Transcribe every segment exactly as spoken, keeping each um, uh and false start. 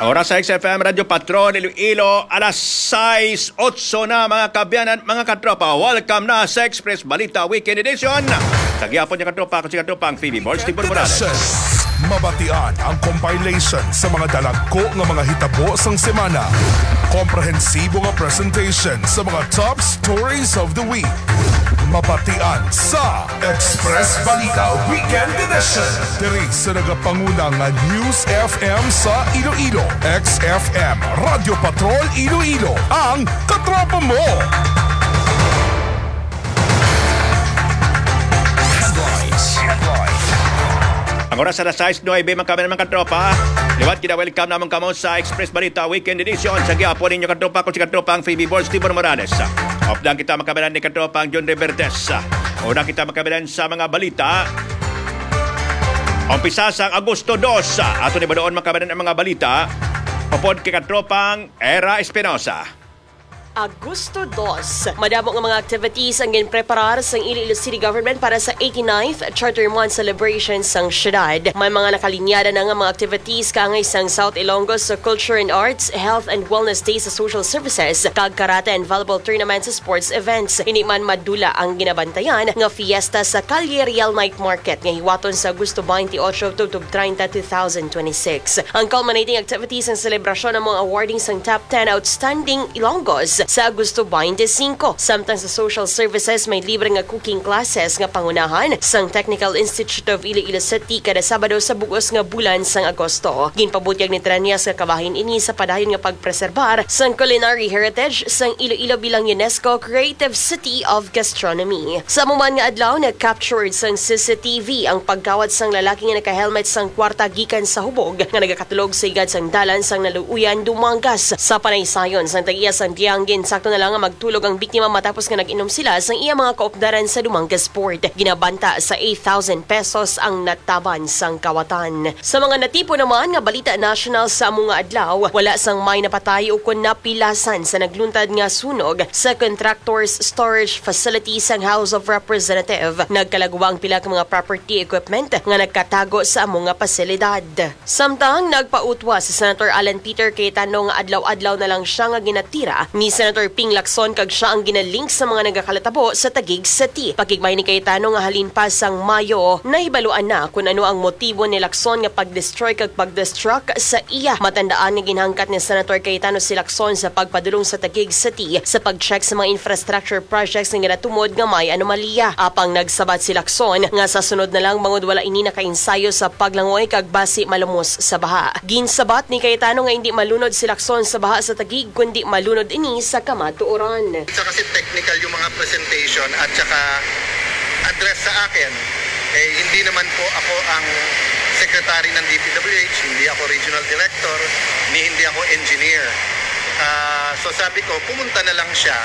Oras sa X F M Radyo Patrol Iloilo, alas sais otso na, mga kaabyanan, mga katropa. Welcome na sa Express Balita Weekend Edition. Sa gihapon niya, katropa, ako si katropang Phoebe Borges Tibor Morales. Edition. Mabatian ang compilation sa mga dalagko nga mga hitabo sang semana. Komprehensibo nga presentation sa mga top stories of the week. Mabatian sa Express Balita Weekend Edition. Diri sa nagapanguna nga News F M sa Iloilo, X F M, Radyo Patrol Iloilo, ang katropa mo. Headlines. Ang oras alas sais nuebe, mga kaabyanan, mga katropa. Liwat gid, welcome namon kamo sa Express Balita Weekend Edition. Sa gihapon ninyo, katropa, ko si katropang Phoebe Borges Tibor Morales. Updan kita, mga kaabyanan, ni katropang John Revertes. Una kita, mga kaabyanan, sa mga balita. Umpisa sang Agosto dos. Ato ni badoon, mga kaabyanan, ang mga balita. Upod kay katropang Era Espinosa. Agosto dos. Madamo nga mga activities ang ginpreparar sang Iloilo City Government para sa eighty-ninth Charter Month celebration sang syudad. May mga nakalinyada na nga mga activities kaangay sang South Ilonggo sa Culture and Arts, Health and Wellness Day sa Social Services, kag Karate and Volleyball Tournament sa sports events. Hindi man madula ang ginabantayan nga fiesta sa Calle Real Night Market nga hiwaton sa Agosto twenty-eight tubtob treinta, two thousand twenty-six. Ang culminating activities sang selebrasyon amo ang awarding sang Top ten Outstanding Ilonggos sa Agosto twenty-five. Samtang sa social services, may libre nga cooking classes nga pangunahan sang Technical Institute of Iloilo City kada Sabado sa bug-os nga bulan sang Agosto. Ginpabutyag ni Treñas nga kabahin ini sa padayon nga pagpreserbar sang culinary heritage sang Iloilo bilang UNESCO Creative City of Gastronomy. Sa amo man nga adlaw, na-captured sang C C T V ang pagkawat sang lalaki nga naka-helmet sang kwarta gikan sa hubog nga nagakatulog sa higad sang dalan sang Naluuyan, Dumangas. Sa panaysayon sang tag-iya sang biyang, ginsakto na lang nga magtulog ang biktima matapos nga nag-inom sila sang iya mga kaupdanan sa Dumangas Port. Ginabanta sa eight thousand pesos ang nataban sang kawatan. Sa mga natipon naman nga balita nasyonal sa amo nga adlaw, wala sang may napatay ukon napilasan sa nagluntad nga sunog sa contractor's storage facility sang House of Representative. Nagkalagwa ang pila ka mga property equipment nga nagkatago sa amo nga pasilidad. Samtang nagpautwa si Senator Alan Peter Cayetano nga adlaw-adlaw na lang siya nga ginatira ni Senator Ping Lacson kag siya ang ginalink sa mga nagakalatabo sa Taguig City. Pakigmay ni Cayetano nga halin pa sang Mayo, nahibaluan na kun ano ang motibo ni Lacson nga pag-destroy kag pag-destruct sa iya. Matandaan nga ginhangkat ni Senator Cayetano si Lacson sa pagpadulong sa Taguig City sa pag-check sa mga infrastructure projects nga ginatumod nga may anomalya. Apang nagsabat si Lacson nga sa sunod na lang bangod wala ini nakaensayo sa paglangoy kag basi malumos sa baha. Ginsabat ni Cayetano nga hindi malunod si Lacson sa baha sa Taguig, kundi malunod ini sa kamatuoran. Isa kasi technical yung mga presentation at saka address sa akin. Eh, hindi naman po ako ang secretary ng D P W H, hindi ako regional director, ni hindi ako engineer. Ah, so sabi ko, pumunta na lang siya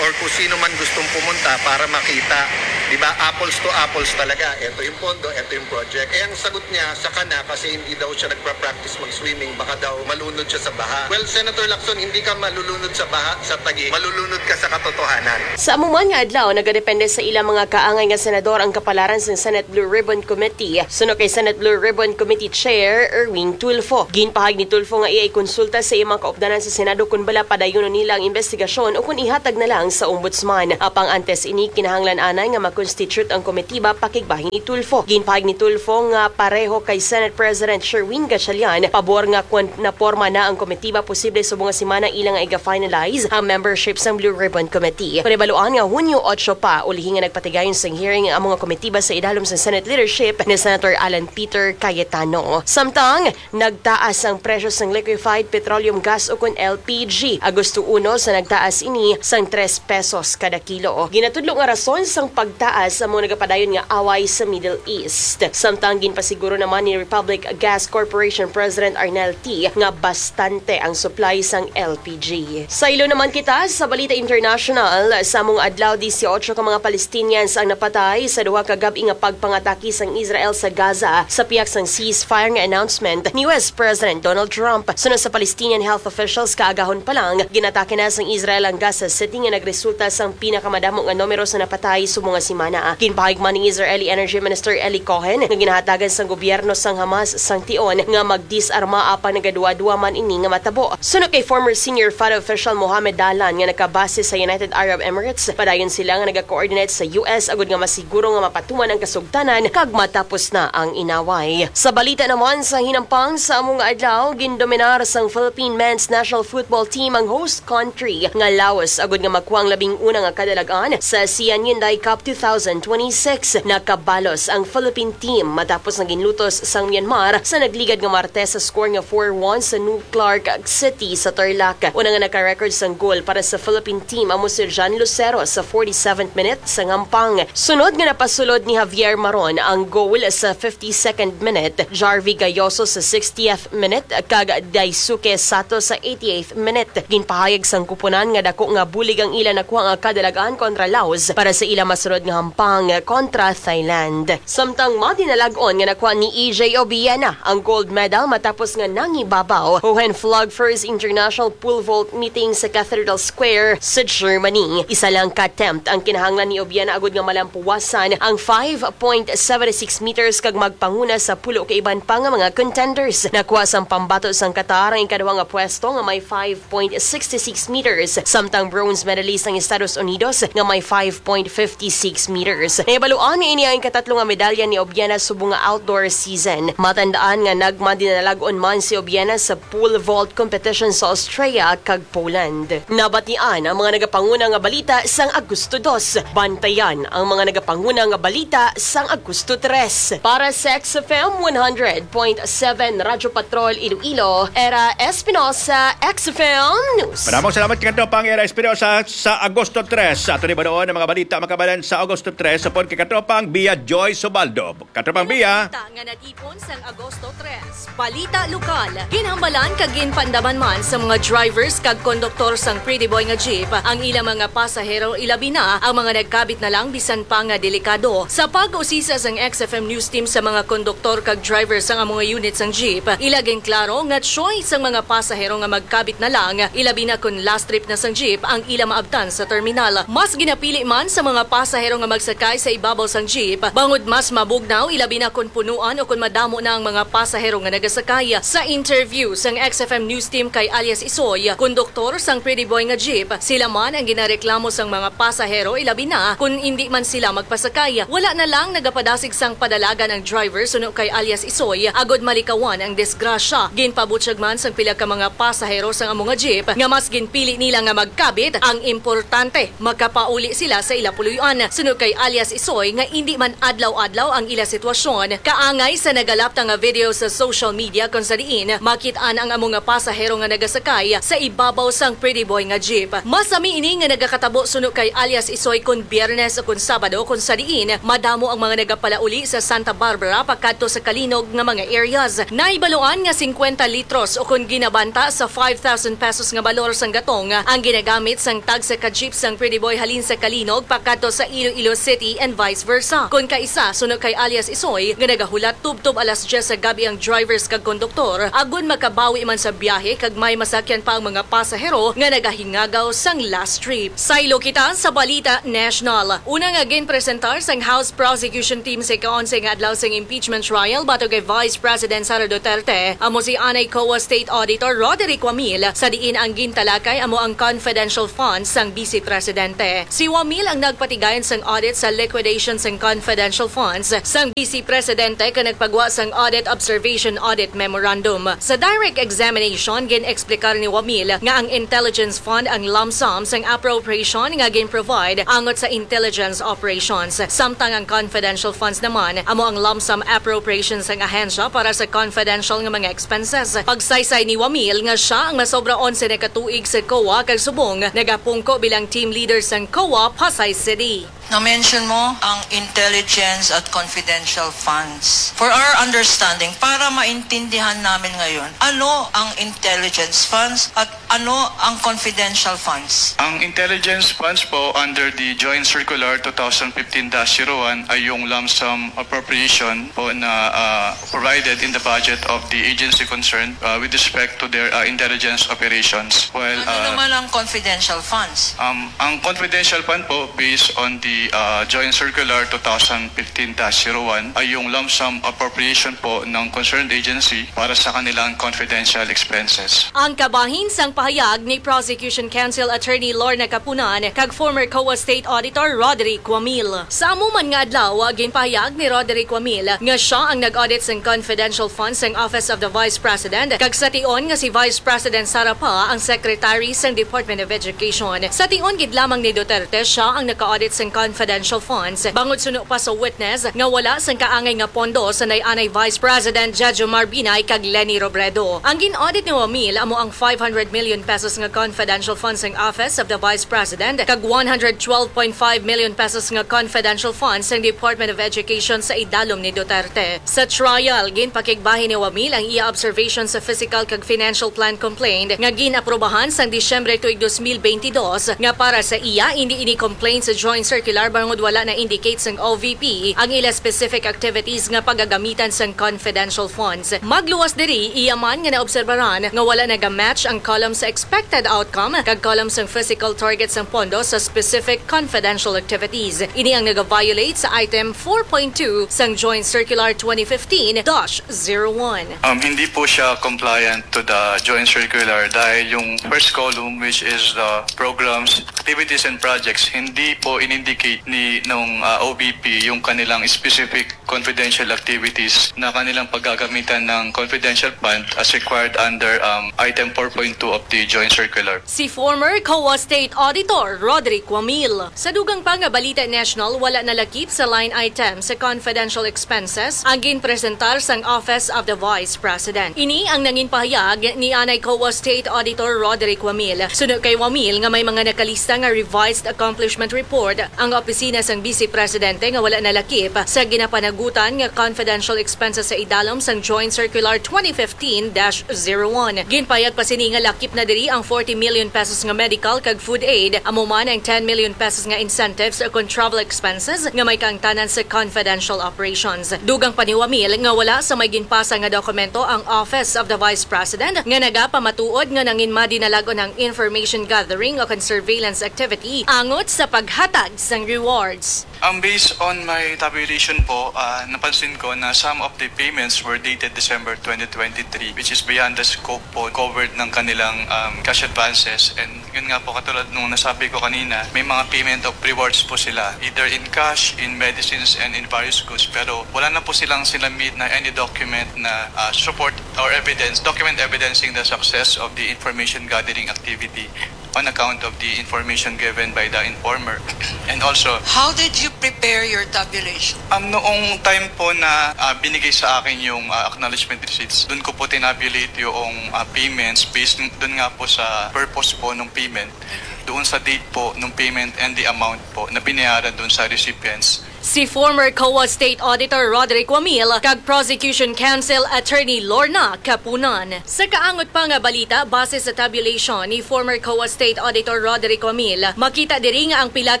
or kung sino man gustong pumunta para makita. Di ba? Apples to apples talaga. Ito yung pondo, ito yung project. Eh, ang sagot niya, saka na kasi hindi daw siya nagpa-practice mag-swimming. Baka daw malunod siya sa baha. Well, Senator Lacson, hindi ka malulunod sa baha sa Taguig. Malulunod ka sa katotohanan. Sa amo man nga adlaw, nagadepende sa ilang mga kaangay nga senador ang kapalaran sang Senate Blue Ribbon Committee. Suno kay Senate Blue Ribbon Committee Chair Erwin Tulfo. Ginpahayag ni Tulfo nga iya ikonsulta sa iyang mga kaupdanan sa Senado kon bala padayunon nila ang investigasyon o kon ihatag na lang sa Ombudsman. Apang antes ini, kinahanglan anay nga ma-constitute ang komitiba, pakigbahin ni Tulfo. Ginpahayag ni Tulfo nga pareho kay Senate President Sherwin Gatchalian, pabor nga kon naporma na ang komitiba, posible subong nga semana ila nga iga-finalize ang membership sang Blue Ribbon Committee. Panibaluan nga Hunyo otso pa, ulihi nga nagpatigayon sang hearing ang amo nga komitiba sa idalom sang Senate leadership ni Senator Alan Peter Cayetano. Samtang, nagtaas ang presyo sang liquefied petroleum gas ukon L P G. Agosto uno sa nagtaas ini sang tres pesos kada kilo. Ginatudlo nga rason sang pagtaas amo nagapadayon nga away sa Middle East. Samtang ginpasiguro naman ni Republic Gas Corporation President Arnel T nga bastante ang supply sang L P G. Saylo naman kita sa balita international. Sa among adlaw, dieciocho ka mga Palestinians ang napatay sa duha ka gab-i nga pagpangatake sang Israel sa Gaza sa pihak sang ceasefire nga announcement ni U S President Donald Trump. Suno sa Palestinian health officials, kaagahon pa lang, ginatake na sang Israel ang Gaza City nga nag resulta sang pinakamadamo nga numero sa napatay subong nga semana. Ginpahayag man ni Israeli Energy Minister Eli Cohen nga ginahatagan sang gobyerno sang Hamas sang tion nga magdisarma apan nagaduwa-duwa man ini nga matabo. Suno kay former senior Fatah official Mohammed Dahlan nga nakabase sa United Arab Emirates, padayon sila nga nagakoordinate sa U S agud nga masiguro nga mapatuman ang kasugtanan kag matapos na ang inaway. Sa balita naman sa hinampang sa amo nga adlaw, gindominar sang Philippine men's national football team ang host country nga Laos agud nga makuha ang labing una nga kadalag-an sa ASEAN Hyundai Cup two thousand twenty-six. Nakabalos ang Philippine team matapos nga ginlutos sang Myanmar sa nagligad nga Martes sa score nga four one sa New Clark City sa Tarlac. Una nga naka-record sang goal para sa Philippine team amo si John Lucero sa forty-seventh minute sa ngampang. Sunod nga napasulod ni Javier Maron ang goal sa fifty-second minute, Jarvie Gayoso sa sixtieth minute, kag Daisuke Sato sa eighty-eighth minute. Ginpahayag sang kuponan nga dako nga bulig ang ila nakuha nga kadalag-an kontra Laos para sa ila masunod nga hampang kontra Thailand. Samtang madinalag-on nga nakuha ni E J Obiena ang gold medal matapos nga nangibabaw huhen flag first international pole vault meeting sa Cathedral Square sa Germany. Isa lang ka attempt ang kinahanglan ni Obiena agud nga malampuwasan ang five point seven six meters kag magpanguna sa pulo ka iban pa nga mga contenders. Nakuha sang pambato sang Qatar ang ikaduha nga pwesto nga may five point six six meters, samtang bronze medalist ang Estados Unidos nga may five point fifty six meters. Nahibaluan nga ini ang ikatatlo nga medalya ni Obiena subong nga outdoor season. Matandaan nga nagmadinalag-on man si Obiena sa pole vault competition sa Austria kag Poland. Nabatian ang mga nagapanguna nga balita sang Agosto dos. Bantayan ang mga nagapanguna nga balita sang Agosto tres. Para sa X F M one hundred point seven Radyo Patrol Iloilo, Era Espinosa, X F M News. Maraming salamat kay katropang Era Espinosa sa Agosto tres. Ato ni banoon ang mga balita makabalan sa Agosto tres upod kay katropang Bia Joy Subaldo. Katropang Bia. Balita nga nag-ipon sang Agosto tres. Balita lokal. Ginhambalan kag ginpaandaman man sa mga drivers kag konduktor sang Pretty Boy nga jeep ang ilang mga pasahero, ilabi na ang mga nagkabit na lang bisan pa nga delikado. Sa pag-usisa sang X F M News Team sa mga konduktor kag driver sang amo nga unit sang jeep, ila ginklaro nga choice sang mga pasahero nga magkabit na lang, ilabi na kon last trip na sang jeep ang ila maabtan sa terminal. Mas ginapili man sa mga pasahero nga magsakay sa ibabaw sang jeep, bangod mas mabugnaw, ilabi na kon punuan o kon madamo na ang mga pasahero nga nagasakay. Sa interview sang X F M News Team kay alias Isoy, konduktor sang Pretty Boy nga jeep, sila man ang ginareklamo sang mga pasahero, ilabi na kon indi man sila magpasakay. Wala na lang nagapadasig sang padalagan ang driver suno kay alias Isoy, agod malikawan ang disgrasya. Ginpabutyag man sang pila ka mga pasahero sang amo nga jeep nga mas ginpili nila nga magkabit ang importante makapauli sila sa ila puloy-an. Suno kay alias Isoy nga indi man adlaw-adlaw ang ila sitwasyon, kaangay sa nagalapta nga video sa social media kon sa diin makit-an ang amo nga pasahero nga nagasakay sa ibabaw sang Pretty Boy nga jeep. Masami ini nga nagakatabo suno kay alias Isoy kon Biyernes o kon Sabado kon sa diin madamo ang mga nagapalauli sa Santa Barbara pakadto sa Calinog nga mga areas. Nahibaluan nga singkwenta litros o kon ginabanta sa five thousand pesos nga balor sang gatong ang ginagamit sang tagsa ka jeep sang Pretty Boy halin sa Calinog pakadto sa Iloilo City and vice versa. Kon kaisa, suno kay alias Isoy nga nagahulat tubtob alas diyes sa gabi ang drivers kag konduktor, agod makabawi man sa biyahe kag may masakyan pa ang mga pasahero nga nagahingagaw sang last trip. Saylo kita sa balita national. Una nga ginpresentar sang House Prosecution Team sa ika-onse nga adlaw sang impeachment trial batok kay Vice President Sara Duterte, amo si anay COA State Auditor Roderick Wamil, sa diin ang gintalakay amo ang confidential funds sang Vice Presidente. Si Wamil ang nagpatigayon sang audit sa liquidation sang confidential funds sang Vice Presidente kag nagpagwa sang audit observation audit memorandum. Sa direct examination, gin-eksplikar ni Wamil nga ang intelligence fund ang lump sum sang appropriation nga gin-provide angot sa intelligence operations, samtang ang confidential funds naman amo ang lump sum appropriation sang ahensya para sa confidential nga mga expenses. Pagsaysay ni Wamil nga sia ang nasobra onse na ka tuig sa COA kag subong nagapungko bilang team leader sang COA Pasay City. Na-mention mo ang intelligence at confidential funds. For our understanding, para maintindihan namin ngayon, ano ang intelligence funds at ano ang confidential funds? Ang intelligence funds po under the Joint Circular two thousand fifteen dash zero one ay yung lump sum appropriation po na ah, provided in the budget of the agency concerned uh, with respect to their uh, intelligence operations. While Ano uh, naman ang confidential funds? Um, ang confidential fund po, based on the uh, Joint Circular two thousand fifteen dash zero one, ay yung lump sum appropriation po ng concerned agency para sa kanilang confidential expenses. Ang kabahin sang pahayag ni Prosecution Counsel Attorney Lorna Kapunan kag former COA State Auditor Roderick Wamil. Sa amo man nga adlaw, ginpahayag ni Roderick Wamil nga siya ang nag-audit sang confidential funds sang Office of the Vice President, kag sa tion nga si Vice President Sara pa ang Secretary sang Department of Education. Sa tion gid lamang ni Duterte, siya ang naka-audit sang confidential funds, bangod suno pa sa witness nga wala sang kaangay nga pondo sa nay-anay Vice President Jejomar Binay kag Leni Robredo. Ang gin-audit ni Wamil amo ang five hundred million pesos nga confidential funds sang Office of the Vice President kag one hundred twelve point five million pesos nga confidential funds sang Department of Education sa idalom ni Duterte. Sa trial, ginpakigbahin ni Wamil ang iya observation sa physical kag financial plan complaint nga gin-aprobahan sang Disyembre tuig dos mil beintidos, nga para sa iya, indi ini complaint sa Joint Circular bangod wala na-indicate sang O V P ang ila specific activities nga pagagamitan sang confidential funds. Magluwas diri, iya man nga naobserbaran nga wala naga-match ang column sa expected outcome kag column sang physical target sang pondo sa specific confidential activities. Ini ang naga-violate sa item four point two sang Joint Circular twenty fifteen dash zero one. Um, hindi po siya compliant to the Joint Circular dahil yung first column, which is the programs, activities, and projects, hindi po in-indicate ni nung uh, O V P yung kanilang specific confidential activities na kanilang paggagamitan ng confidential fund as required under um, item four point two of the Joint Circular. Si former COA State Auditor Roderick Wamil. Sa dugang pa nga balita national, wala nalakip sa line item sa confidential expenses ang ginpresentar sang Office of the Vice President. Ini ang nangin pahayag ni anay COA State Auditor Roderick Wamil. Suno kay Wamil nga may mga nakalista nga revised accomplishment report ang opisina sang Vice Presidente nga wala nalakip sa ginapanagutan nga confidential expenses sa idalom sang Joint Circular twenty fifteen dash zero one. Ginpayag pa sini nga lakip na diri ang forty million pesos nga medical kag food aid, amo man ang ten million pesos nga incentives ukon travel expenses nga may kaangtanan sa confidential operations. Dugang pa ni Wamil nga wala sa may ginpasa nga dokumento ang Office of the Vice President nga nagapamatuod nga nangin madinalag-on ang information gathering ukon surveillance activity angot sa paghatag sang rewards. Um, based on my tabulation po, ah, napansin ko na some of the payments were dated December twenty twenty-three, which is beyond the scope po covered ng kanilang um, cash advances. And yun nga po, katulad nung nasabi ko kanina, may mga payment of rewards po sila, either in cash, in medicines, and in various goods. Pero wala na po silang sinamit na any document na ah, support or evidence, document evidencing the success of the information gathering activity on account of the information given by the informer. And also, How did you prepare your tabulation? Um, noong time po na ah, binigay sa akin yung ah, acknowledgement receipts, doon ko po tinabulate yung ah, payments based doon nga po sa purpose po ng payment, doon sa date po ng payment and the amount po na binayaran doon sa recipients. Si former COA State Auditor Roderick Wamil kag Prosecution Counsel Attorney Lorna Kapunan. Sa kaangot pa nga balita, base sa tabulation ni former COA State Auditor Roderick Wamil, makita diri nga ang pila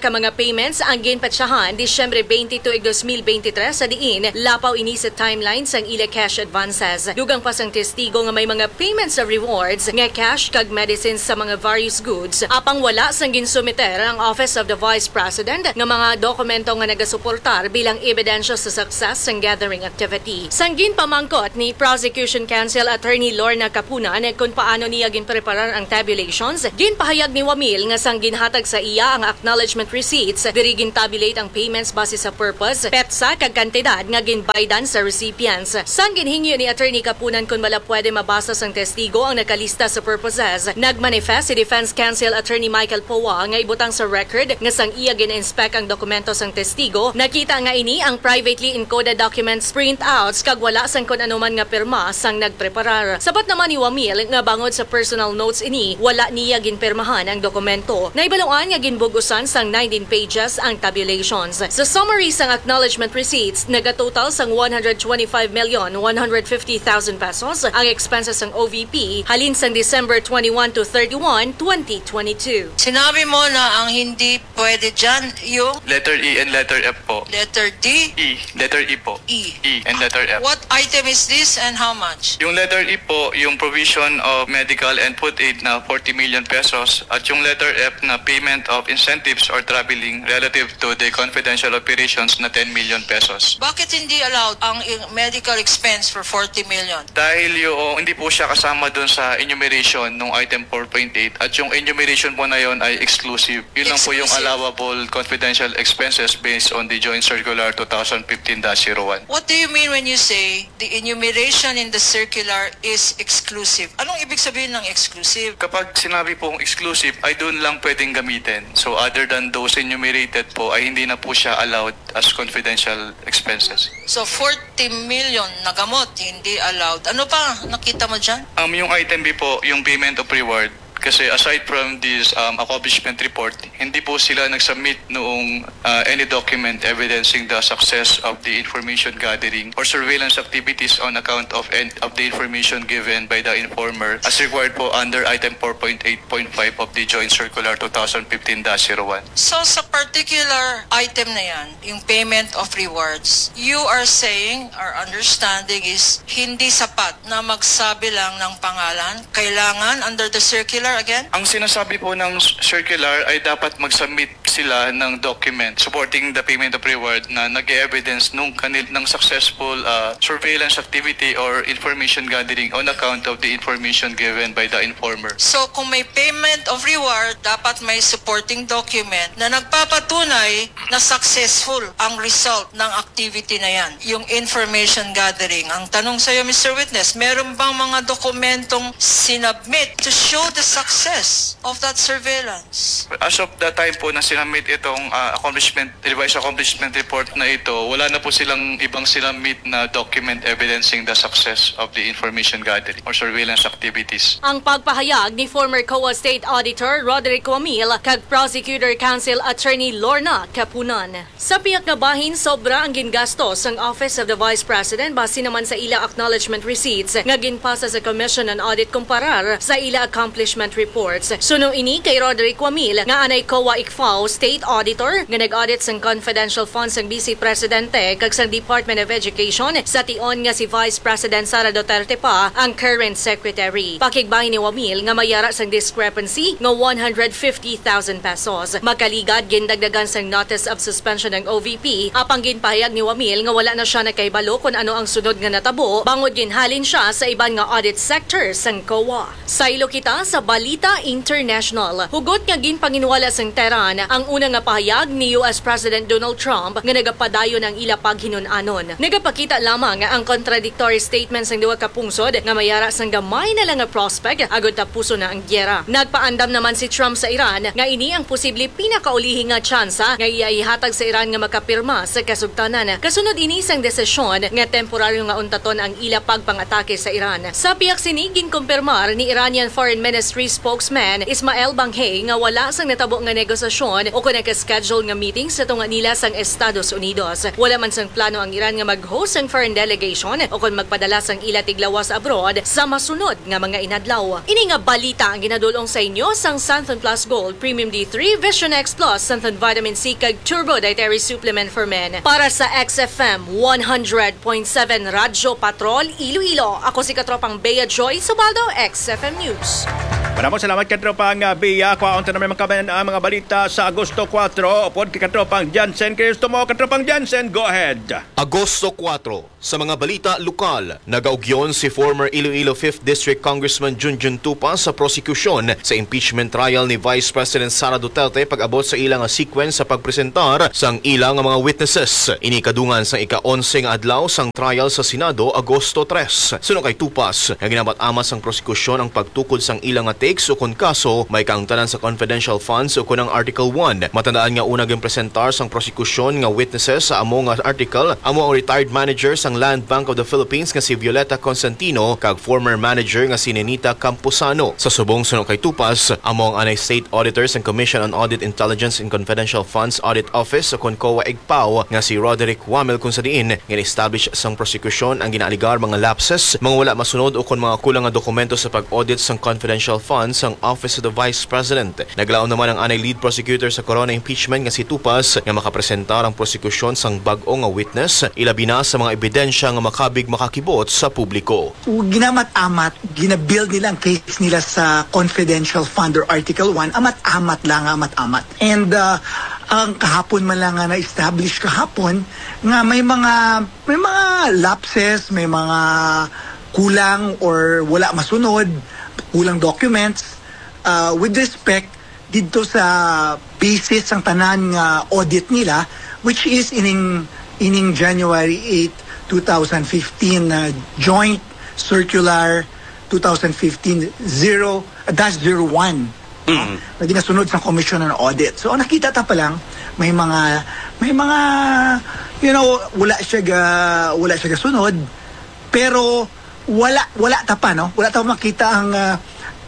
ka mga payments ang ginpetsahan Disyembre twenty tuig dos mil beintitres, sa diin lapaw ini sa timeline sang ila cash advances. Dugang pa sang testigo nga may mga payments of rewards nga cash kag medicines sa mga various goods, apang wala sang ginsumiter ang Office of the Vice President nga mga dokumento nga nagasuportar bilang ebidensya sa success sang gathering activity. Sang ginpamangkot ni Prosecution Counsel Attorney Lorna Kapunan kung paano niya ginpreparar ang tabulations, ginpahayag ni Wamil nga sang ginhatag sa iya ang acknowledgement receipts, diri gintabulate ang payments base sa purpose, petsa, kag kantidad nga ginbaydan sa recipients. Sang ginhingyo ni Attorney Kapunan kung wala pwede mabasa sang testigo ang nakalista sa purposes, nagmanifest si Defense Counsel Attorney Michael Poa nga ibutang sa record nga sang iya gin-inspect ang dokumento sang testigo, Nakita nga ini ang privately encoded documents printouts kag wala sang kon anuman nga pirma sang nagpreparar. Sabat naman ni Wamil nga bangod sa personal notes ini, wala niya ginpirmahan ang dokumento. Naibaluan nga ginbug-usan sang nineteen pages ang tabulations. Sa summary sang acknowledgement receipts, nagatotal sang one hundred twenty-five million one hundred fifty thousand pesos ang expenses sang O V P halin sang December twenty-one to thirty-one, twenty twenty-two. Sinabi mo na ang hindi pwede dyan, yung Letter E and letter F po. Letter D? E. Letter E po. E. E and letter F. What item is this and how much? Yung letter E po, yung provision of medical and food aid na forty million pesos at yung letter F na payment of incentives or traveling relative to the confidential operations na ten million pesos. Bakit hindi allowed ang i-, medical expense for forty million? Dahil yung hindi po siya kasama dun sa enumeration nung item four point eight at yung enumeration po na yon ay exclusive. Yun lang po yung Exclusive. Allowable confidential expenses based on the Joint Circular two thousand fifteen dash zero one. What do you mean when you say the enumeration in the circular is exclusive? Anong ibig sabihin ng exclusive? Kapag sinabi pong exclusive, ay doon lang pwedeng gamitin. So other than those enumerated po, ay hindi na po siya allowed as confidential expenses. So forty million na gamot, hindi allowed. Ano pa nakita mo dyan? Um, yung item B po, yung payment of reward. Kasi aside from this um, accomplishment report, hindi po sila nag-submit noong uh, any document evidencing the success of the information gathering or surveillance activities on account of, en- of the information given by the informer as required po under item four point eight point five of the Joint Circular two thousand fifteen dash zero one. So sa particular item na yan, yung payment of rewards, you are saying, our understanding is hindi sapat na magsabi lang ng pangalan. Kailangan under the circular again? Ang sinasabi po ng s- circular ay dapat mag-submit sila ng document supporting the payment of reward na nag-evidence nung kanil ng successful uh, surveillance activity or information gathering on account of the information given by the informer. So kung may payment of reward, dapat may supporting document na nagpapatunay na successful ang result ng activity na yan, yung information gathering. Ang tanong sa'yo, Mister Witness, meron bang mga dokumentong sinubmit to show the success of that surveillance? As of the time po na sinubmit itong uh, accomplishment, revised accomplishment report na ito, wala na po silang ibang sinubmit na document evidencing the success of the information gathering or surveillance activities. Ang pagpahayag ni former COA State Auditor Roderick Wamil kag Prosecutor Counsel Attorney Lorna Kapunan. Sa pihak nga bahin, sobra ang gingastos sang Office of the Vice President basi naman sa ila acknowledgement receipts nga ginpasa sa Commission on Audit kumparar sa ila accomplishment reports. Suno ini kay Roderick Wamil nga anay COA ICFAO State Auditor nga nag-audit sang confidential funds sang Vice Presidente kag sang Department of Education sa tion nga si Vice President Sara Duterte pa ang current secretary. Pakigbahin ni Wamil nga may ara sang discrepancy nga one hundred fifty thousand pesos. Makaligad, gindagdagan sang notice of suspension ang O V P, apang ginpahayag ni Wamil nga wala na siya nakahibalo kon ano ang sunod nga natabo bangod ginhalin siya sa iban nga audit sector sang COA. Saylo kita sa balita international. Hugot nga ginpanginwala sang Tehran ang una nga pahayag ni U S President Donald Trump nga nagapadayon ang ila paghinun-anon. Nagapakita lamang ang contradictory statement sang duha ka pungsod nga may ara sang gamay na lang nga prospect agud tapuson na ang giyera. Nagpaandam naman si Trump sa Iran nga ini ang posible pinakaulihi nga tsansa nga iya ihatag sa Iran nga makapirma sa kasugtanan. Kasunod ini sang desisyon nga temporaryo nga untaton ang ila pagpang-atake sa Iran. Sa pihak sini, ginkumpirmar ni Iranian Foreign Ministry spokesman Ismail Banghe nga wala sang natabo nga negosasyon o kon nagka-schedule nga meeting sa tunga nila sang Estados Unidos. Wala man sang plano ang Iran nga mag-host sang foreign delegation o kon magpadala sang ila tiglawas abroad sa masunod nga mga inadlaw. Ini nga balita ang ginadul-ong sa inyo sang Santon Plus Gold Premium D three, Vision X Plus, Santon Vitamin C, kag Turbo Dietary Supplement for Men. Para sa X F M one hundred point seven Radyo Patrol, Iloilo. Ako si Katropang Bea Joy Subaldo, X F M News. Maraming salamat, Katropang, ah, Bea. Kuhaon ta naman ang mga, ang mga balita sa Agosto kuwatro. Upod kay Katropang Jansen Cristomo. Katropang Jansen, go ahead. Agosto kuwatro, sa mga balita lokal, nagaugyon si former Iloilo fifth District Congressman Junjun Tupa sa prosekusyon sa impeachment trial ni Vice President Sara Duterte pag-abot sa ila nga sequence sa pagpresentar sang ila nga mga witnesses. Ini kadungan sang ika-onse nga adlaw sang trial sa Senado, Agosto tres. Suno kay Tupas, nga ginamat-amat sang prosekusyon ang pagtukod sang ila nga X ukon kaso, may kaangtanan sa confidential funds ukon ang Article one. Matandaan nga una ginpresentar sang prosekusyon nga witnesses sa amo nga article amo ang retired manager sang Land Bank of the Philippines nga si Violeta Constantino kag former manager nga si Nenita Camposano. Sa subong, suno kay Tupas, amo ang anay state auditor sang Commission on Audit, Intelligence and Confidential Funds Audit Office ukon COA-ICPAO nga si Roderick Wamel, kung sa diin gin-establish sang prosekusyon ang ginaaligar mga lapses, mga wala masunod ukon mga kulang nga dokumento sa pag-audit sang confidential funds sang Office of the Vice President. Naglaom naman ang anay lead prosecutor sa corona impeachment nga si Tupas nga makapresentar ang prosekusyon sang bag-o nga witness, ilabi na sa mga ebidensya nga makabig makakibot sa publiko. Ginamat-amat, ginabuild nila ang case nila sa confidential fund or Article one, amat-amat lang, amat-amat. And, uh, ang kahapon man lang nga na-establish kahapon nga may mga, may mga lapses, may mga kulang or wala masunod, kulang documents, uh, with respect didto sa basis sang tanan nga audit nila, which is ining, ining January eight, two thousand fifteen na joint circular two thousand fifteen zero dash zero one, no? Mm. Na ginasunod sa Commission on Audit. So, ang nakita ta pa lang, may mga, may mga, you know, wala siya ga-, wala siya gasunod, pero wala, wala ta pa, no? Wala ta pa makita ang, ah,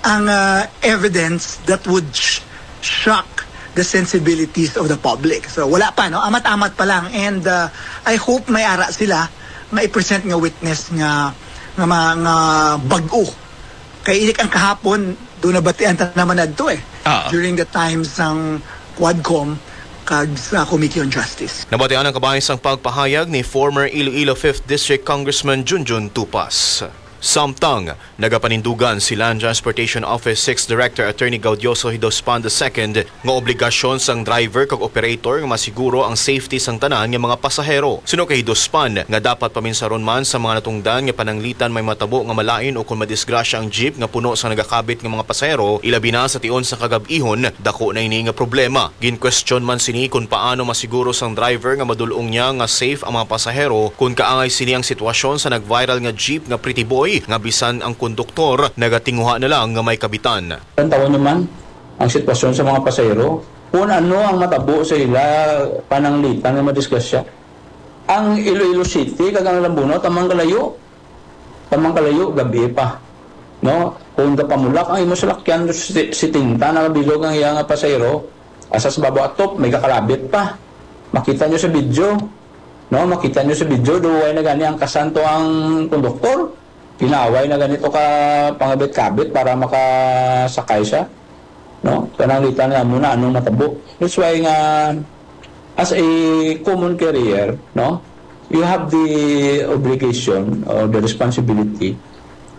ang, ah, evidence that would sh-, shock the sensibilities of the public. So, wala pa, no? Amat-amat pa lang. And, ah, I hope may ara sila nga i-present nga witness nga, nga ma-, nga bag-o. Kay inik ang kahapon, doon nabatian ta naman adto eh. Ah. During the times sang Quadcom kag sa Committee on Justice. Nabatian ang kabahin sang pagpahayag ni former Iloilo fifth District Congressman Junjun Tupas. Samtang, nagapanindugan si Land Transportation Office six Director Attorney Gaudioso Hidospan the second nga obligasyon sang driver kag operator nga masiguro ang safety sang tanan nga mga pasahero. Suno kay Hidospan nga dapat paminsaron man sa mga natungdan nga pananglitan may matabo nga malain o kon madisgrasya ang jeep nga puno sang nagakabit nga mga pasahero, ilabi na sa tion sang kagab-ihon, dako na ini nga problema. Ginkwestiyon man sini kon paano masiguro sang driver nga madul-ong niya nga safe ang mga pasahero kon kaangay sini ang sitwasyon sa nag-viral nga jeep nga pretty boy nga bisan ang konduktor nagatinguha na lang nga may kabitan. Tan-awon nyo man ang sitwasyon sa mga pasahero, kung ano ang matabo sa ila pananglitan nga madisgrasya. Ang Iloilo City kag ang Lambunao, tamang kalayo. Tamang kalayo, gabi pa. No? Kung gapamulak ang imo salakyan, si-, setenta na kabilog ang iya nga pasahero, asa sa babo atop, may kakalabit pa. Makita nyo sa video. No? Makita nyo sa video, duway na gani ang kasanto ang konduktor. Pinaaway na ganito ka pangabit-kabit para makasakay siya, no? Pananglitan nga muna anong matabo. That's why nga, as a common carrier, no, you have the obligation or the responsibility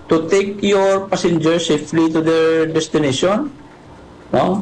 to take your passenger safely to their destination, no?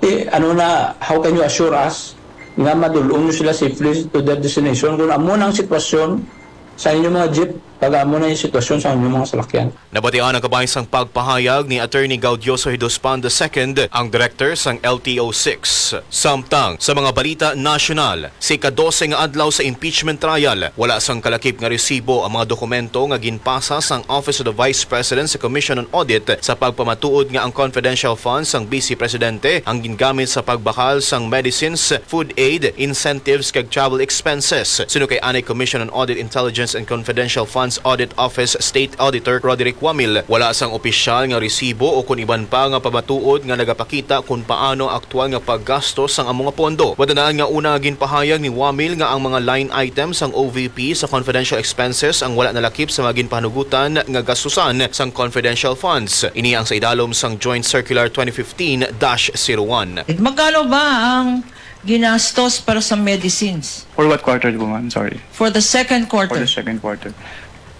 Eh, ano na, how can you assure us nga madul-ong nyo sila safely to their destination kung amo na ang sitwasyon sa inyong mga jeep, kag amo na yung sitwasyon sa inyong mga salakyan? Nabatian ang kabahin sang pagpahayag ni Attorney Gaudioso Hidospan the second, ang director sang L T O six. Samtang, sa mga balita nasyonal, sa ika-dose nga adlaw sa impeachment trial, wala sang kalakip nga resibo ang mga dokumento nga ginpasa sang Office of the Vice President sa Commission on Audit sa pagpamatuod nga ang confidential funds sang Vice Presidente ang gingamit sa pagbakal sang medicines, food aid, incentives, kag travel expenses. Suno kay anay Commission on Audit, Intelligence and Confidential Funds Audit Office State Auditor Roderick Wamil, wala sang opisyal nga resibo o kon iban pa nga pamatuod nga nagapakita kon paano aktual nga paggastos sang amo nga pondo. Matandaan nga una ginpahayag ni Wamil nga ang mga line items sang O V P sa confidential expenses ang wala nalakip sa mga ginpahanugutan nga gastusan sang confidential funds. Ini ang sa idalom sang Joint Circular twenty fifteen dash zero one. Magkano ba ang ginastos para sa medicines? For what quarter po, ma'am? Sorry. For the second quarter. For the second quarter.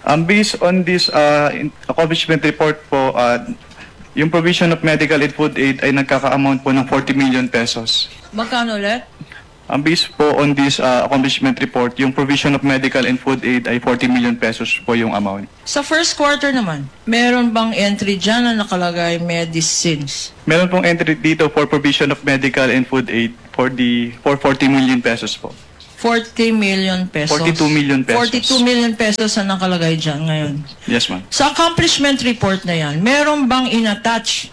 Um, based on this, uh, in-, accomplishment report po, uh, yung provision of medical and food aid ay nagkaka-amount po ng forty million pesos. Magkano ulit? Ang based po on this, uh, accomplishment report, yung provision of medical and food aid ay forty million pesos po yung amount. Sa first quarter naman, meron bang entry dyan na nakalagay medicines? Meron pong entry dito for provision of medical and food aid for the, for forty million pesos po. Forty million pesos. Forty-two million pesos. Forty-two million pesos ang nakalagay dyan ngayon. Yes, ma'am. Sa accomplishment report na yan, meron bang inattach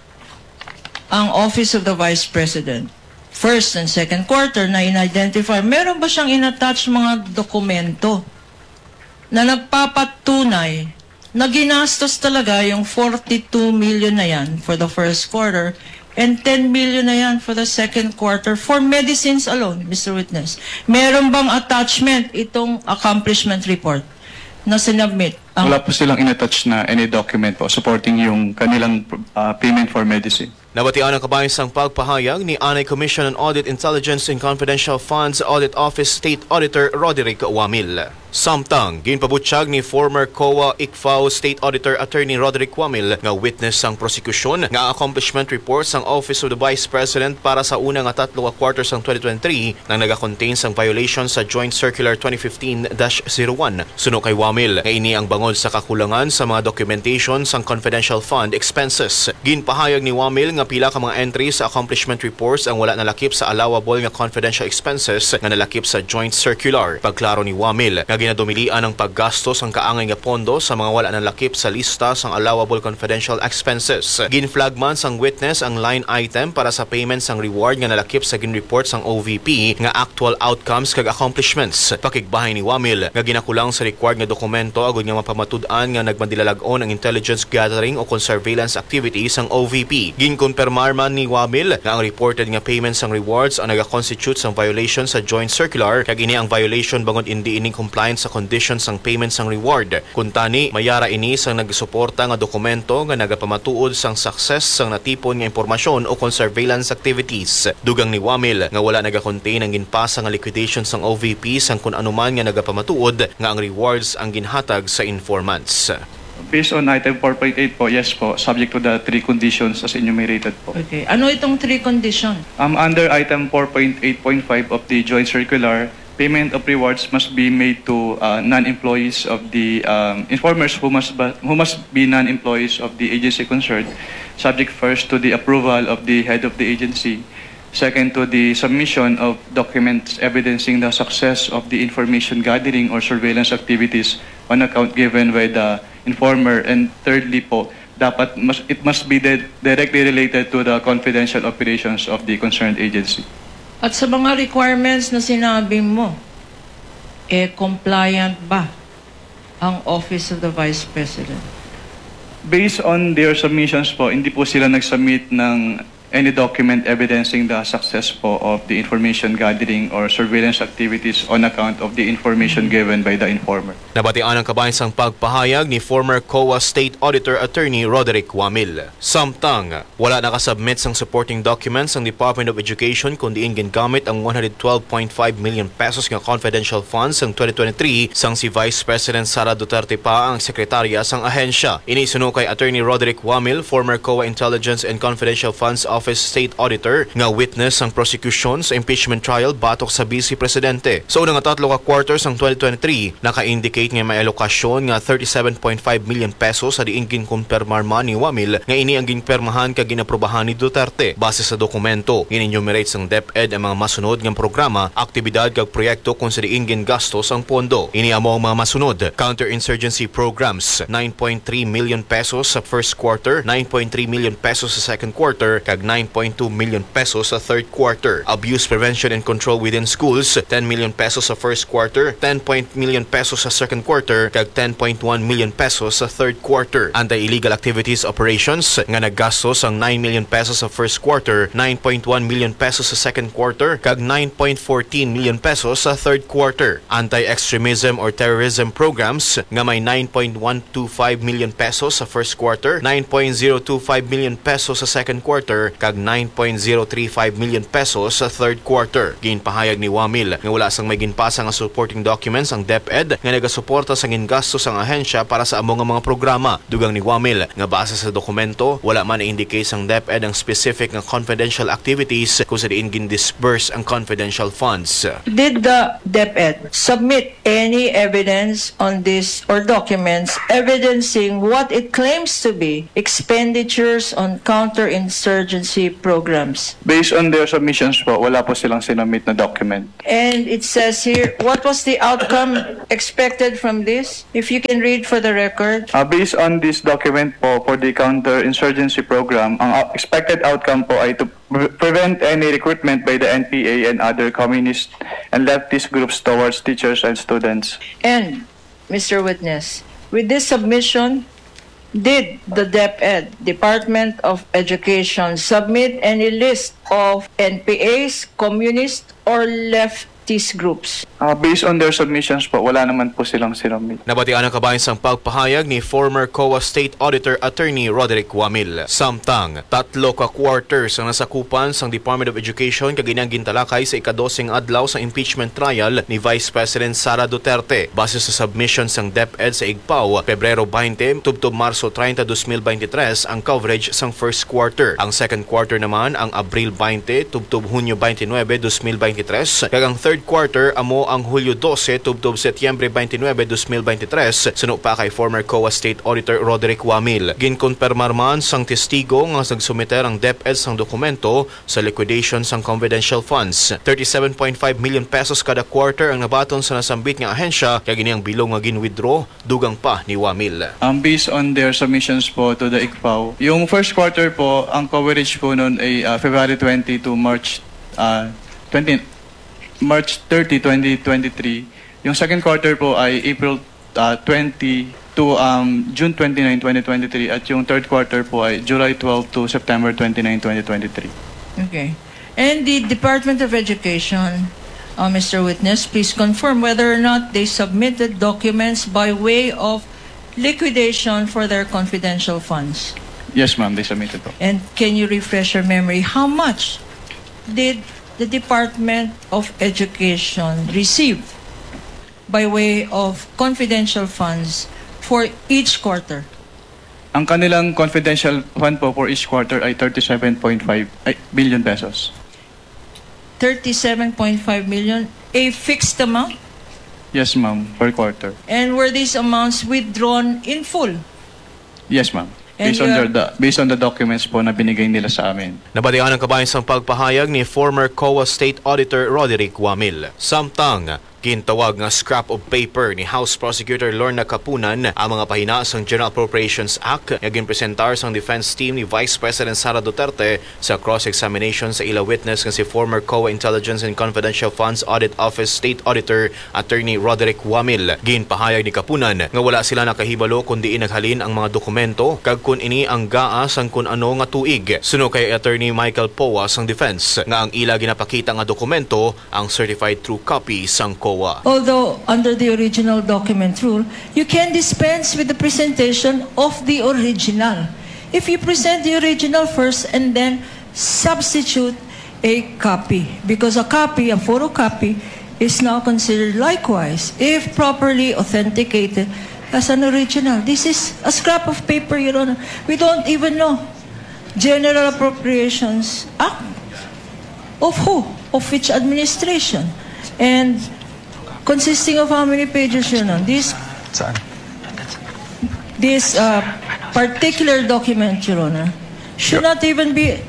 ang Office of the Vice President, first and second quarter na in-identify, meron ba siyang in-attach mga dokumento na nagpapatunay na ginastos talaga yung forty-two million na yan for the first quarter and ten million na yan for the second quarter for medicines alone, Mister Witness? Meron bang attachment itong accomplishment report na sinubmit? Ang Wala po silang in-attach na any document po supporting yung kanilang, ah, payment for medicine. Nabatian ang kabahin sang pagpahayag ni Anay Commission on Audit, Intelligence and Confidential Funds Audit Office State Auditor Roderick Wamil. Samtang, ginpabutyag ni former COA ICFAO State Auditor Attorney Roderick Wamil nga witness sang prosekusyon nga accomplishment report sang Office of the Vice President para sa una nga tatlo ka quarter sang twenty twenty-three nang nagakontain sang violation sa Joint Circular twenty fifteen dash zero one. Suno kay Wamil nga ini ang bangod sa kakulangan sa mga documentation sang confidential fund expenses. Ginpahayag ni Wamil nga pila ka mga entry sa accomplishment reports ang wala nalakip sa allowable nga confidential expenses nga nalakip sa joint circular. Pagklaro ni Wamil nga ginadumilian ang paggasto sang kaangay nga pondo sa mga wala nalakip sa lista sang allowable confidential expenses. Ginflag man sang witness ang line item para sa payment sang reward nga nalakip sa ginreport sang O V P nga actual outcomes kag accomplishments. Pakigbahay ni Wamil nga ginakulang sa required nga dokumento agud nga mapamatud-an nga nagmadilalag-on ang intelligence gathering o kon surveillance activities sang O V P. Ginkonpermar man ni Wamil nga ang reported nga payment sang rewards ang nagakonstitute sang violation sa joint circular kag ini ang violation bangod indi ini compliant sa conditions sang payment sang reward. Kuntani, mayara ini sang nagasuporta nga dokumento nga nagapamatuod sang success sang natipon nga impormasyon ukon surveillance activities. Dugang ni Wamil nga wala nagakontain ang ginpasa nga liquidation sang O V P sang kun ano man nga nagapamatuod nga ang rewards ang ginhatag sa informants. Based on item four point eight po, yes po, subject to the three conditions as enumerated po. Okay. Ano itong three condition? Um, under item four point eight point five of the joint circular, payment of rewards must be made to, uh, non-employees of the, um, informers who must ba-, who must be non-employees of the agency concerned, subject first to the approval of the head of the agency, second to the submission of documents evidencing the success of the information gathering or surveillance activities on account given by the informer, and thirdly po, dapat mas, it must be di-, directly related to the confidential operations of the concerned agency. At sa mga requirements na sinabi mo, eh, compliant ba ang Office of the Vice President? Based on their submissions po, hindi po sila nag-submit ng any document evidencing the success po of the information gathering or surveillance activities on account of the information given by the informer. Nabatian ang kabahin sang pagpahayag ni former COA State Auditor Attorney Roderick Wamil. Samtang, wala nakasubmit sang supporting documents ang Department of Education kun diin gingamit ang one hundred twelve point five million pesos nga confidential funds sang twenty twenty-three sang si Vice President Sara Duterte pa ang sekretarya sang ahensya. Ini suno kay Attorney Roderick Wamil, former COA Intelligence and Confidential Funds Office State Auditor, nga witness sang prosekusyon sa impeachment trial batok sa Vice Presidente. Sa una nga tatlo ka quarter sang twenty twenty-three, naka-indicate nga may alokasyon nga thirty-seven point five million pesos sa diin ginkumpirmar man ni Wamil nga ini ang ginpirmahan kag ginaprubahan ni Duterte. Base sa dokumento, gin-enumerate sang DepEd ang mga masunod nga programa, aktibidad kag proyekto kung sa diin gingastos ang pondo. Ini amo ang mga masunod: counterinsurgency programs, nine point three million pesos sa first quarter, nine point three million pesos sa second quarter, kag nine point two million pesos sa third quarter. Abuse prevention and control within schools, ten million pesos sa first quarter, ten point million pesos sa second quarter, kag ten point one million pesos sa third quarter. Anti-illegal activities operations nga naggastos sang nine million pesos sa first quarter, nine point one million pesos sa second quarter, kag nine point fourteen million pesos sa third quarter. Anti-extremism or terrorism programs nga may nine point one two five million pesos sa first quarter, nine point zero two five million pesos sa second quarter, kag nine point zero three five million pesos sa third quarter. Ginpahayag ni Wamil nga wala sang may ginpasa nga supporting documents ang DepEd nga nagasuporta sa gingastos sang ahensya para sa amo nga mga programa. Dugang ni Wamil nga base sa dokumento, wala man na-indicate sang DepEd ang specific nga confidential activities kung sa diin gin-disburse ang confidential funds. Did the DepEd submit any evidence on this or documents evidencing what it claims to be expenditures on counterinsurgency emergency programs. Based on their submissions po, wala po silang sinumit na document. And it says here, what was the outcome expected from this? If you can read for the record. Uh, based on this document po for the counter-insurgency program, ang uh, expected outcome po ay to pre- prevent any recruitment by the N P A and other communist and leftist groups towards teachers and students. And, Mister Witness, with this submission, did the DepEd, Department of Education, submit any list of N P As, communist, or leftist groups? Uh, based on their submissions po, wala naman po silang sinumit. Nabatian ang kabahin sang pagpahayag ni former COA State Auditor Attorney Roderick Wamil. Samtang, tatlo ka quarters ang nasakupan sang Department of Education kag ini ang gintalakay sa ikadoseng adlaw sa impeachment trial ni Vice President Sara Duterte. Base sa submission sang DepEd sa Igpao, Pebrero twenty tubtob Marso treinta, dos mil veintitrés ang coverage sang first quarter. Ang second quarter naman ang Abril twenty tubtob Hunyo twenty-nine, dos mil veintitrés, kag ang third quarter amo ang Hulyo dose tubtob Setyembre twenty-nine, dos mil veintitrés, suno pa kay former COA State Auditor Roderick Wamil. Ginkonpermar man sang testigo nga nagsumiter ang DepEd sang dokumento sa liquidation sang confidential funds. Thirty-seven point five million pesos kada quarter ang nabaton sa nasambit nga ahensya, kag ini ang bilog nga gin-withdraw dugang pa ni Wamil. Um, based on their submissions po to the Igpao, yung first quarter po, ang coverage po noon ay uh, February twenty to March uh, twenty, March thirty, twenty twenty-three. Yung second quarter po ay April uh, twenty to um, June twenty-nine, twenty twenty-three, at yung third quarter po ay July twelve to September twenty-nine, twenty twenty-three. Okay. And the Department of Education, uh, Mister Witness, please confirm whether or not they submitted documents by way of liquidation for their confidential funds. Yes, ma'am, they submitted po. And can you refresh your memory? How much did the Department of Education receive by way of confidential funds for each quarter? Ang kanilang confidential fund po for each quarter ay thirty-seven point five ay, billion pesos. Thirty-seven point five million, a fixed amount? Yes, ma'am, per quarter. And were these amounts withdrawn in full? Yes, ma'am. And Based on you their have- do- based on the documents po na binigay nila sa amin. Nabatian ang kabahin sang pagpahayag ni former COA State Auditor Roderick Wamil. Samtang, gintawag nga scrap of paper ni House Prosecutor Lorna Kapunan ang mga pahina sang General Appropriations Act nga ginpresentar sang defense team ni Vice President Sara Duterte sa cross-examination sa ila witness nga si former COA Intelligence and Confidential Funds Audit Office State Auditor Attorney Roderick Wamil. Ginpahayag ni Kapunan nga wala sila nakahibalo kon diin naghalin ang mga dokumento kag kon ini ang gaa sang kon ano nga tuig. Suno kay Attorney Michael Poa sang defense nga ang ila ginapakita nga dokumento ang certified true copy sang COA. Although under the original document rule, you can dispense with the presentation of the original. If you present the original first and then substitute a copy, because a copy, a photocopy, is now considered likewise, if properly authenticated, as an original. This is a scrap of paper, Your Honor. We don't even know. General Appropriations Act? Of who? Of which administration? And consisting of how many pages, Your Honor? This, Saan? this uh, particular document, Your Honor, should not even be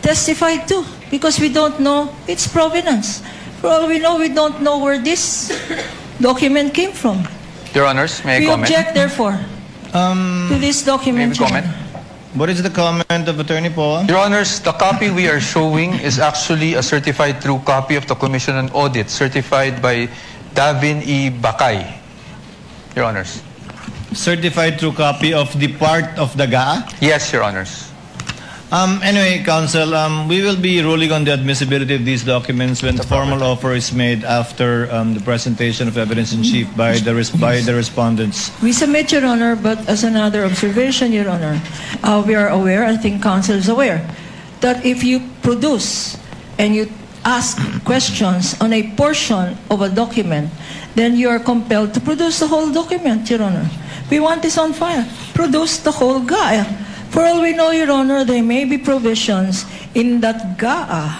testified to because we don't know its provenance. For all we know, we don't know where this document came from. Your Honors, may I We comment? Object, therefore, Um, to this may document, we Your comment? Honor. What is the comment of Attorney Poa? Your Honors, the copy we are showing is actually a certified true copy of the Commission on Audit, certified by Davin E. Bacay. Your Honors. Certified true copy of the part of the GAA? Yes, Your Honors. Um, anyway, Counsel, um, we will be ruling on the admissibility of these documents when formal offer is made after um, the presentation of evidence in chief by the res- by the respondents. We submit, Your Honor, but as another observation, Your Honor, uh, we are aware, I think counsel is aware, that if you produce and you ask questions on a portion of a document, then you are compelled to produce the whole document, Your Honor. We want this on file. Produce the whole GAA. For all we know, Your Honor, there may be provisions in that GAA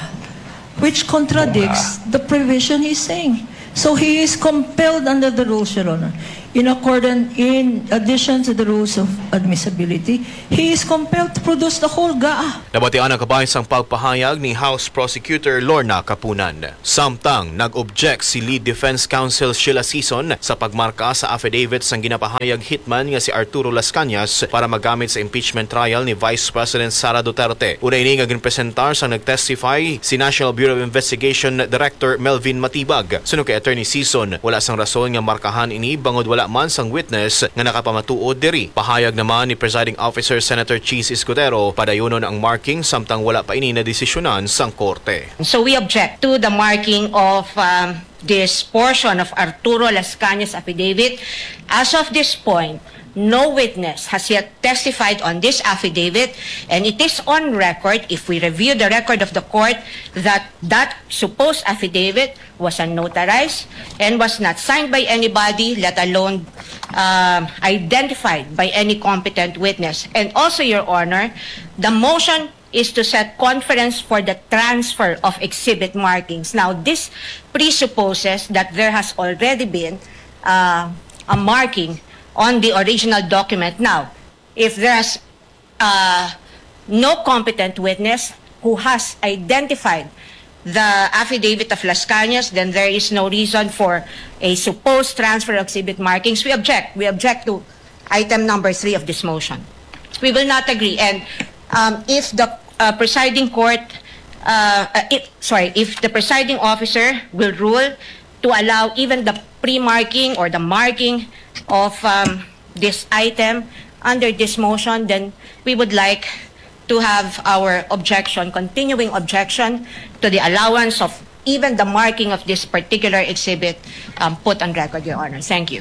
which contradicts the provision he's saying. So he is compelled under the rules, Your Honor. In accordance, in addition to the rules of admissibility, he is compelled to produce the whole GAA. Nabatian ang kabahin sang pagpahayag ni House Prosecutor Lorna Kapunan. Samtang nag-object si Lead Defense Counsel Sheila Sison sa pagmarka sa affidavit sang ginapahayag hitman nga si Arturo Las Cañas para magamit sa impeachment trial ni Vice President Sara Duterte. Una ini nga ginpresentar sang nag-testify si National Bureau of Investigation Director Melvin Matibag. Suno kay Attorney Sison, wala sang rason nga markahan ini bangod wala man sang witness nga nakapamatuod diri. Pahayag naman ni Presiding Officer Senator Chiz Escudero, padayunon ang marking samtang wala pa ini nadesisyonan sang korte. So we object to the marking of um, this portion of Arturo Las Cañas affidavit. As of this point, no witness has yet testified on this affidavit, and it is on record, if we review the record of the court, that that supposed affidavit was unnotarized and was not signed by anybody, let alone um, identified by any competent witness. And also, Your Honor, the motion is to set conference for the transfer of exhibit markings. Now, this presupposes that there has already been uh, a marking on the original document. Now, if there has uh, no competent witness who has identified the affidavit of Las Cañas, then there is no reason for a supposed transfer of exhibit markings. We object. We object to item number three of this motion. We will not agree. And um, if the uh, presiding court, uh, uh, if, sorry, if the presiding officer will rule to allow even the pre-marking or the marking of um, this item under this motion, then we would like to have our objection, continuing objection to the allowance of even the marking of this particular exhibit um, put on record, Your Honor. Thank you.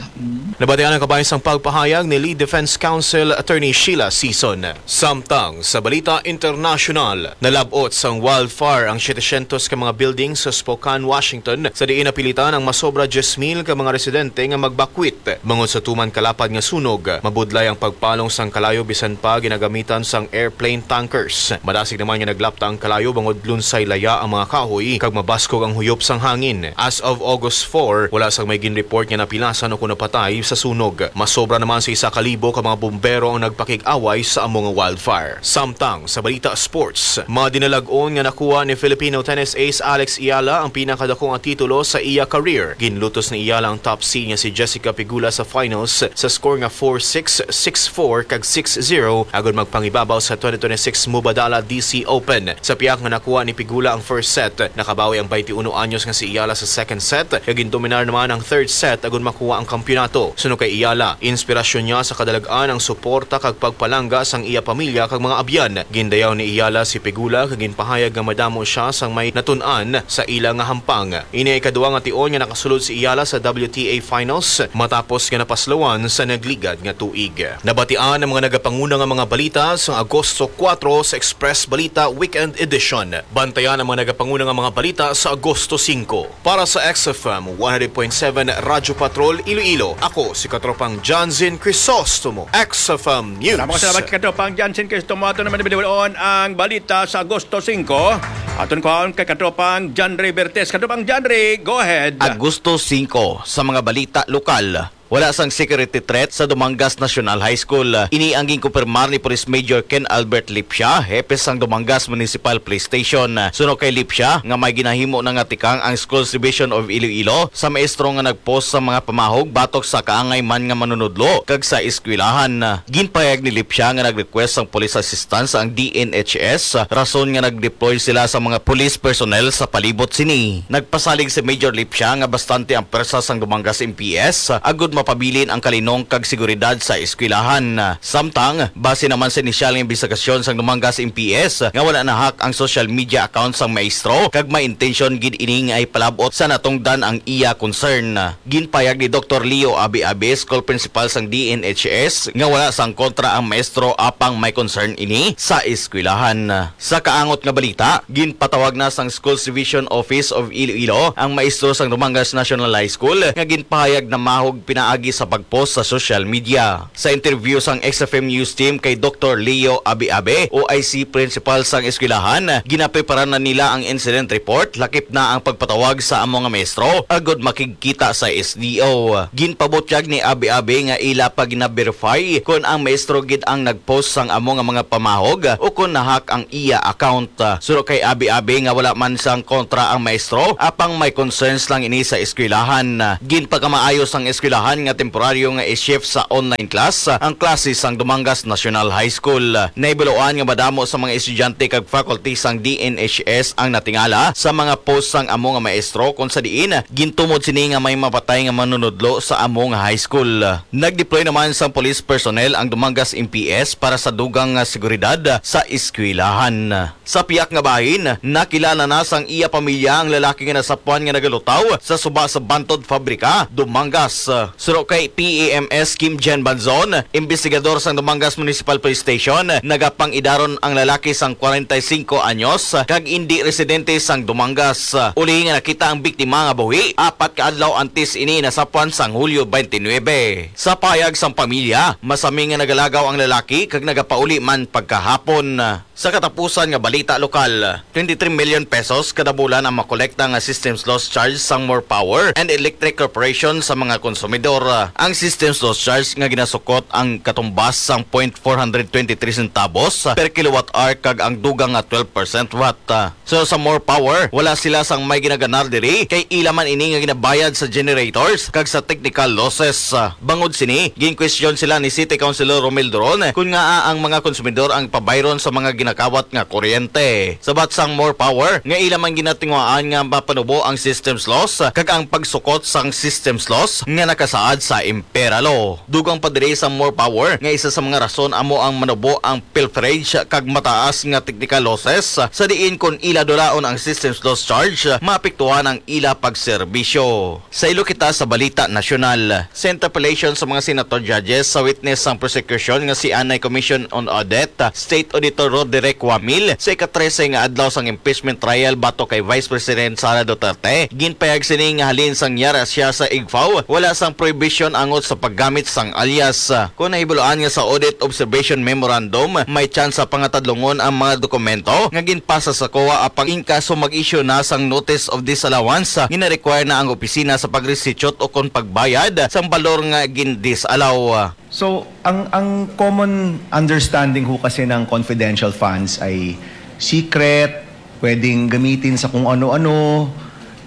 Nabatian ang kabahin sang pagpahayag ni Lead Defense Counsel Attorney Sheila Sison. Samtang sa balita internasyonal, nalab-ot sang wildfire ang siyete syentos ka mga building sa Spokane, Washington, sa diin napilitan ang masobra diyes mil ka mga residente nga magbakwit. Bangod sa tuman kalapad nga sunog, mabudlay ang pagpalong sang kalayo bisan pa ginagamitan sang airplane tankers. Madasig naman nga naglapta ang kalayo bangod lunsay laya ang mga kahoy kag mabaskog ang huyop sang hangin. As of August four, wala sang may ginreport nga napilasan o kon napatay sa sunog. Masobra naman sa isa ka libo ka mga bumbero ang nagpakig-away sa amo nga wildfire. Samtang sa balita sports, madinalag-on nga nakuha ni Filipino tennis ace Alex Eala ang pinakadako nga titulo sa iya career. Ginlutos ni Eala ang top seed nga si Jessica Pegula sa finals sa score nga four six, six four, kag six zero, agud magpangibabaw sa twenty twenty-six Mubadala D C Open. Sa pihak nga nakuha ni Pegula ang first set, nakabawi ang twenty-one anyos nga si Eala sa second set, kag gindominar naman ang third set agud makuha ang kampiyonato. Suno kay Eala, inspirasyon niya sa kadalag-an ang suporta kag pagpalangga sang iya pamilya kag mga abyan. Gindayaw ni Eala si Pegula kag ginpahayag nga madamo siya sang may natun-an sa ila nga hampang. Ini ay kadua nga tion nga nakasulod si Eala sa W T A Finals matapos nga napaslawan sa nagligad nga tuig. Nabatian ang mga nagapanguna nga mga balita sa Agosto kuwatro sa Express Balita Weekend Edition. Bantayan ang mga nagapanguna nga mga balita sa Agosto singko. Para sa X F M one hundred point seven Radyo Patrol Iloilo, ako si Katropang Johnson Crisostomo, X F M News. Salamat, salamat kay Katropang Johnson Crisostomo. Ato naman binuon ang balita sa Agosto singko. Aton kuhaon kay Katropang John Ray Bertes. Katropang John Ray, go ahead. Agosto singko, sa mga balita lokal, wala sang security threat sa Dumangas National High School. Ini ang ginkumpirmar ni Police Major Ken Albert Lipsia, hepe sang Dumangas Municipal Police Station. Suno kay Lipsia, nga may ginahimo na nga tikang ang Schools Division of Iloilo sa maestro nga nagpost sa mga pamahog batok sa kaangay man nga manunudlo kag sa eskwelahan. Ginpahayag ni Lipsia nga nag-request sang police assistance ang D N H S, rason nga nag-deploy sila sa mga police personnel sa palibot sini. Nagpasalig si Major Lipsia nga bastante ang pwersa sang Dumangas M P S agud mapabilin ang kalinong kag seguridad sa eskwelahan. Samtang, base naman sa inisyal nga imbestigasyon sang Dumangas M P S nga wala na-hack ang social media account sang maestro kag may intensyon gid ini nga ipalab-ot sa natungdan ang iya concern. Ginpayag ni Doktor Leo Abiabe, school principal sang D N H S, nga wala sang kontra ang maestro apang may concern ini sa eskwelahan. Sa kaangot nga balita, ginpatawag na sang Schools Division Office of Iloilo ang maestro sang Dumangas National High School nga ginpahayag na mahog pina agi sa pag-post sa social media. Sa interview sang X F M News Team kay Doktor Leo Abe-Abe, O I C principal sang eskwelahan, ginaprepara na nila ang incident report, lakip na ang pagpatawag sa amo nga maestro agud makigkita sa S D O. Ginpabutyag ni Abe-Abe nga ila pa gina-verify kon ang maestro gid ang nag-post sang amo nga mga pamahog o kon na-hack ang iya account. Suno kay Abe-Abe nga wala man sang kontra ang maestro, apang may concerns lang ini sa eskwelahan. Ginpakamaayo sang eskwelahan nga temporaryo nga i-shift sa online class ang klase sang Dumangas National High School. Nahibaluan nga madamo sa mga estudyante kag faculty sang D N H S ang natingala sa mga post sang amo nga maestro, kung sa diin gintumod sini nga may mapatay nga manunudlo sa amo nga high school. Nag-deploy naman sang police personnel ang Dumangas M P S para sa dugang nga seguridad sa eskwelahan. Sa piyak nga bahin, nakilala na sang iya pamilya ang lalaki nga nasapwan nga nagalutaw sa suba sa Bantod Fabrika, Dumangas. Suno kay P A M S Kim Jen Banzon, investigador sang Dumangas Municipal Police Station, nagapang-idaron ang lalaki sang kwarenta y singko anyos kag indi residente sang Dumangas. Uli nga nakita ang biktima nga buhi apat ka adlaw antes ini nasapwan sang Hulyo twenty-nine. Sa payag sang pamilya, masami nga nagalagaw ang lalaki kag nagapauli man pagkahapon. Sa katapusan nga balita lokal, twenty-three million pesos kada bulan ang makolekta nga systems loss charge sang More Power and Electric Corporation sa mga konsumidor. Ang systems loss charge nga ginasukot ang katumbas sang point four hundred twenty-three centavos per kilowatt hour kag ang dugang nga twelve percent vat. So, sa More Power, wala sila sang may ginaganar diri kay ila man ini nga ginabayad sa generators kag sa technical losses. Bangod sini, ginkwestiyon sila ni City Councilor Romel Duron kon ngaa ang mga konsumidor ang pabayron sa mga ginakawat nga kuryente. Sabat sang More Power, nga ila man ginatinguhaan nga mapanubo ang systems loss kag ang pagsukot sang systems loss nga nakasaad sa Impera Law. Dugang pa diri sa More Power nga isa sa mga rason amo ang manubo ang pilferage kag mataas nga technical losses, sa diin kon ila dulaon ang systems loss charge, maapektuhan ang ila pagserbisyo. Sa ilo kita sa balita nasyonal, sa interpellation sa mga senator judges sa witness sang prosekusyon nga si Anay Commission on Audit, State Auditor Roderick Wamil, sa ika-trese nga adlaw sang impeachment trial batok kay Vice President Sara Duterte, ginpayag sini nga halin sang yara siya sa ICFAO, wala sang prohibition angot sa paggamit sang alias. Kon nahibaluan nga sa Audit Observation Memorandum, may tsansa pa nga tadlungon ang mga dokumento nga ginpasa sa COA apang in kaso mag-issue na sang Notice of Disallowance, gina-require na ang opisina sa pag-restitute o kon pagbayad sang balor nga gin-disallow. So, ang, ang common understanding ho kasi ng confidential funds ay secret, pwedeng gamitin sa kung ano-ano,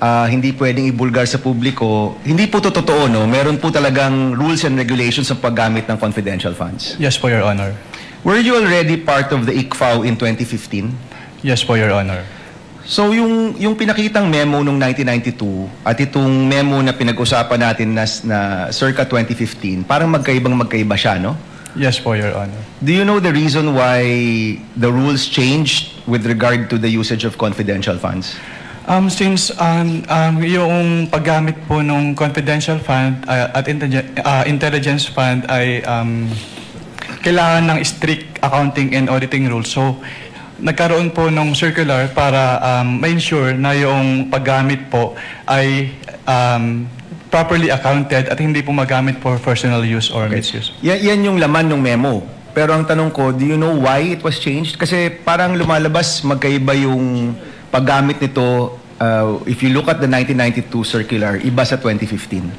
ah, hindi pwedeng ibulgar sa publiko. Hindi po to totoo, no? Meron po talagang rules and regulations sa paggamit ng confidential funds. Yes po, Your Honor. Were you already part of the ICFAO in twenty fifteen? Yes po, Your Honor. So, yung, yung pinakitang memo nung nineteen ninety-two at itong memo na pinag-usapan natin na, na circa twenty fifteen, parang magkaibang magkaiba siya, no? Yes po, Your Honor. Do you know the reason why the rules changed with regard to the usage of confidential funds? Um, since, um, um, yung paggamit po ng confidential fund, uh, at intelli-, uh, intelligence fund ay, um, kailangan ng strict accounting and auditing rules. So, nagkaroon po ng circular para, um, ma-ensure na yung paggamit po ay, um, properly accounted at hindi po magamit for personal use or Okay. misuse. Yan, yan yung laman ng memo. Pero ang tanong ko, do you know why it was changed? Kasi parang lumalabas magkaiba yung paggamit nito, uh, if you look at the nineteen ninety-two circular, iba sa twenty fifteen.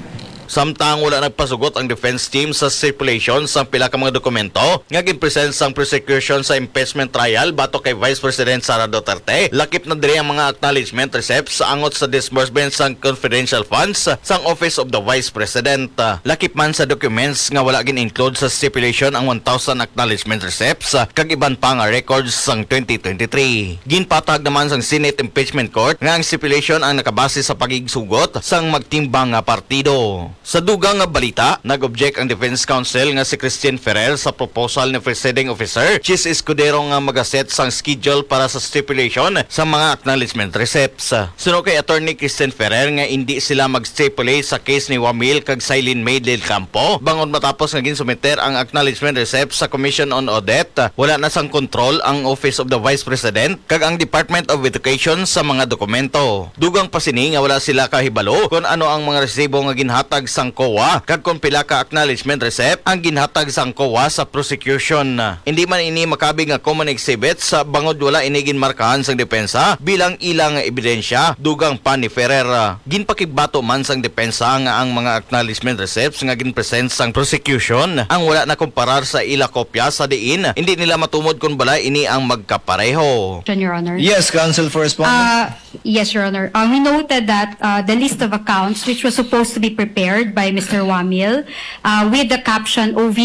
Samtang wala nagpasugot ang defense team sa stipulation sang pila ka mga dokumento nga ginpresent sang prosecution sa impeachment trial batok kay Vice President Sara Duterte, lakip na diri ang mga acknowledgement receipts angot sa disbursement sang confidential funds sang Office of the Vice President. Lakip man sa documents nga wala gin-include sa stipulation ang one thousand acknowledgement receipts kag iban pa nga records sang twenty twenty-three. Ginpatag naman sang Senate Impeachment Court nga ang stipulation ang nakabase sa pakigsugot sang magtimbang nga partido. Sa dugang nga balita, nag-object ang defense counsel nga si Christine Ferrer sa proposal ni Presiding Officer Chiz Escudero nga magaset sang schedule para sa stipulation sa mga acknowledgement receipts. Suno kay Attorney Christine Ferrer nga indi sila mag-stipulate sa case ni Wamil kag Silene May del Campo, bangod matapos nga ginsumiter ang acknowledgement receipt sa Commission on Audit, wala na sang kontrol ang Office of the Vice President kag ang Department of Education sa mga dokumento. Dugang pa sini nga wala sila kahibalo kon ano ang mga resibo nga ginhatag sang COA kag kon pila ka acknowledgement receipt ang ginhatag sang COA sa prosecution. Hindi man ini makabig nga common exhibit sa bangod wala ini ginmarkahan sang depensa bilang ila nga ebidensya. Dugang pa ni Ferrer, ginpakigbato man sang depensa nga ang mga acknowledgement receipts nga ginpresent sang prosecution ang wala nakumparar sa ila kopya, sa diin hindi nila matumod kon bala ini ang magkapareho. Your Honor. Yes, counsel for respondent. Uh, yes, Your Honor. Uh, we noted that uh, the list of accounts, which was supposed to be prepared by Mister Wamil uh, with the caption O V